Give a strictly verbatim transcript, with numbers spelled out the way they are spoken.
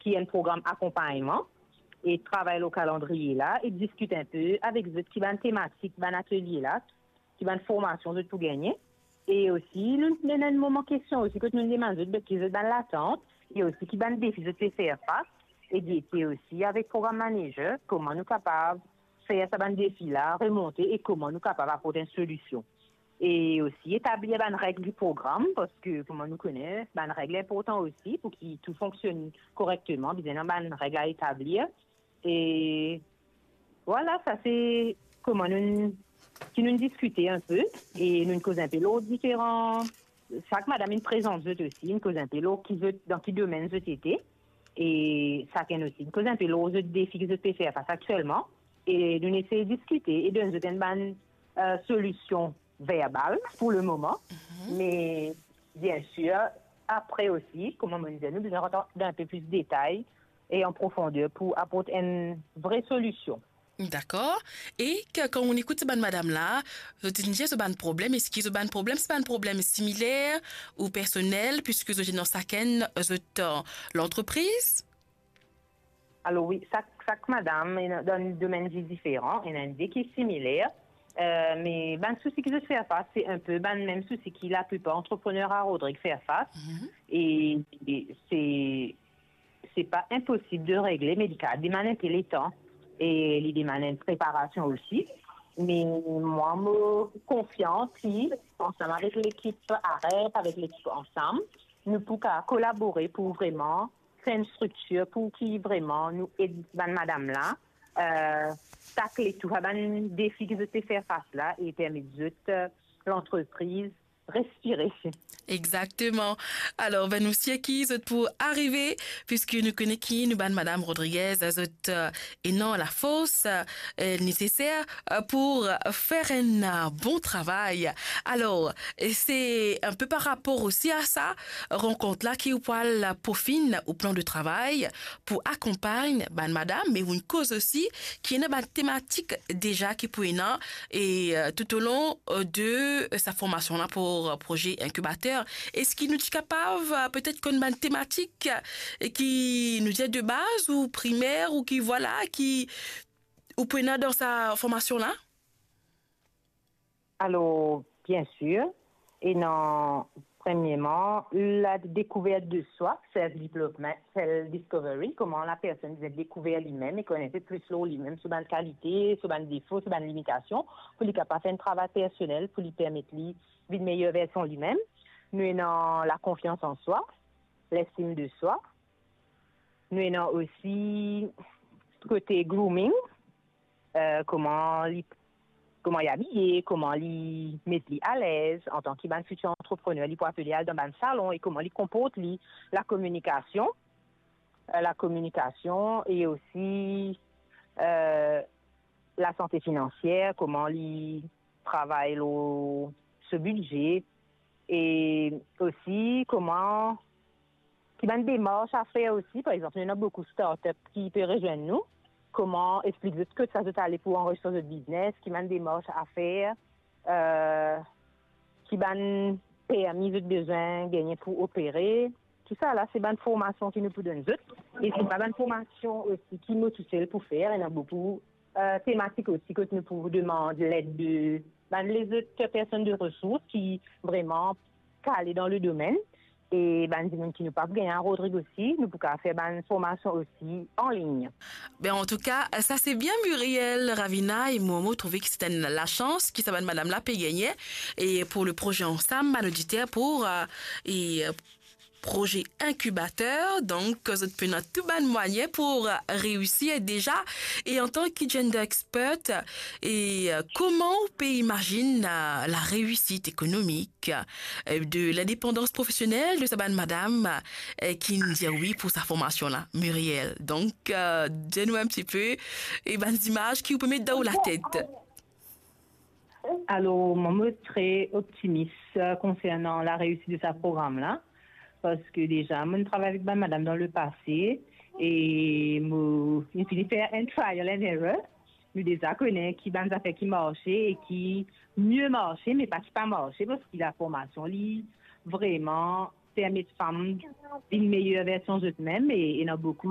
ki enn program akonpagnman, e travay lor kalandriye la, e diskit inpe avek zot ki bann tematik bann atelie la, ki bann formasion zot pou gagne. E osi, nou, nou ena enn moman kestion osi, kot nou demann zot, be, ki zot bann latant, e osi ki bann defi zot pe fer fas, e gete osi avek program manager, kouma nou kapav fer sa bann defi la remonte e kouma nou kapav aport enn solision. E osi etablir bann reg di program, parski, kouma nou kone, bann reg inportan osi pou ki tou fonksionn korekteman, bizin ena bann reg a etablir. E vwala, sa se kouma nou, ki nou diskite inpe, e nou koz inpe lor diferan, sak madam inn prezant zot osi, nou koz inpe lor ki zot, dan ki domenn zot ete, e sakenn osi, nou koz inpe lor zot defi ki zot pe fer fas aktielman, e nou esey diskite e donn zot enn bann, eh, solision verbal pou lemoman, me, biensir, apre osi, kouma mo dir, nou bizin rant dan inpe plis detay e an profander pou aport enn vre solision. Dakor. E ke, kan ou ekout sa bann madam la, zot inn dir zot bann problem, eski zot bann problem, se bann problem similer ou personel, piski zot ena sakenn zot, eh, lantrepriz? Alor wi, sak, sak madam ena, dan domenn vi diferan, ena enn de ki similer, eh, me bann sousi ki zot fer fas, se inpe bann mem sousi ki laplipar antreprener a Rodrig fer fas. E, e se, se pa inposib de regle, me li kapav demann inpe letan e li demann enn preparasion osi. Me mwa, mo konfian ki, ansam avek lekip Arep, avek lekip Ansam, nou pou kapav kolabore pou vreman fer enn striktir pou ki vreman nou ed bann madam la, eh, takle tou sa bann defi ki zot pe fer fas la e permet zot, eh, lantrepriz respire. Exakteman. Alor, ben, nou sir ki zot pou arive, piski nou kone ki nou bann madam Rodriguez, zot, eh, ena lafors, eh, neseser, eh, pou, eh, fer enn, eh, bon travay. Alor, e se inpe par rapor osi a sa rankont la ki ou pou al pofinn ou plan de travay pou akonpagn bann madam, me ou'nn koz osi ki ena bann tematik deza ki pou ena, e, eh, toutolon, eh, de, eh, sa formasion la pou, eh, proze inkibater. Eski nou ti kapav, eh, petet konn bann tematik, eh, ki nou dir de baz ou primer ou ki, vwala, ki ou pou ena dan sa formasion la? Alor, biensir, ena, premierman, la découverte de soi, self development, self discovery, kouma lapersonn bizin dekouver limem e konn inpe plis lor limem, so bann kalite, so bann defo, so bann limitasion, pou li kapav fer enn travay personel, pou li permet li vinn meyer version limem. Nou ena lakonfians an swa, lestim de swa. Nou ena osi kote grooming, eh, kouma li, kouma li abiye, kouma li met li alez antan ki bann fitir antreprener, li pou apel al dan bann salon e kouma li konport li, lakominikasion, eh, lakominikasion e osi, eh, lasante finansier, kouma li travay lor so bidze, e osi kouma, ki bann demars a fer osi. Par exanp, nou ena boukou startup ki pe rezwenn nou, kouma explik zot kot sa zot ale pou anrezistre zot biznes, ki bann demars a fer, eh, ki bann permi zot bizin gagne pou opere. Tousala, se bann formasion ki nou pou donn zot. E se pa bann formasion osi ki nou tousel pou fer, ena boukou, eh, tematik osi kot nou pou demann led de bann lezot personn de resours ki vreman kale dan le domenn. E bann dimoun ki nou pa pou gagn a Rodrig osi, nou pou kapav fer bann formasion osi an lign. Ben, antouka, sa se bien, Muriel Ravina, e mo, mo trouve ki se enn lasans ki sa bann madam la pe gagne. E pou le proze Ansam, bann oditer pou, eh, e, eh, proze inkibater, donk zot pena tou bann mwayin pou, eh, reisir deza. E antan ki gender expert, e, eh, kouma ou pe imazinn, eh, lareisit ekonomik, eh, de lindepandans profesionel de sa bann madam, eh, ki'nn dir wi pou sa formasion la, Muriel? Donk, eh, dir nou enn tipe, e bann zimaz ki ou pe met dan ou latet. Alor, mwa, mo tre optimis, eh, konsernan lareisit de sa program la, parski deza, mo'nn travay avek bann madam dan lepase, e mo, mo'nn fini fer enn trial and error. Nou deza kone ki bann zafer ki marse e ki mie marse, me pa ki pa marse, parski laformasion, li vreman permet fam vinn meyer version zot mem, e ena boukou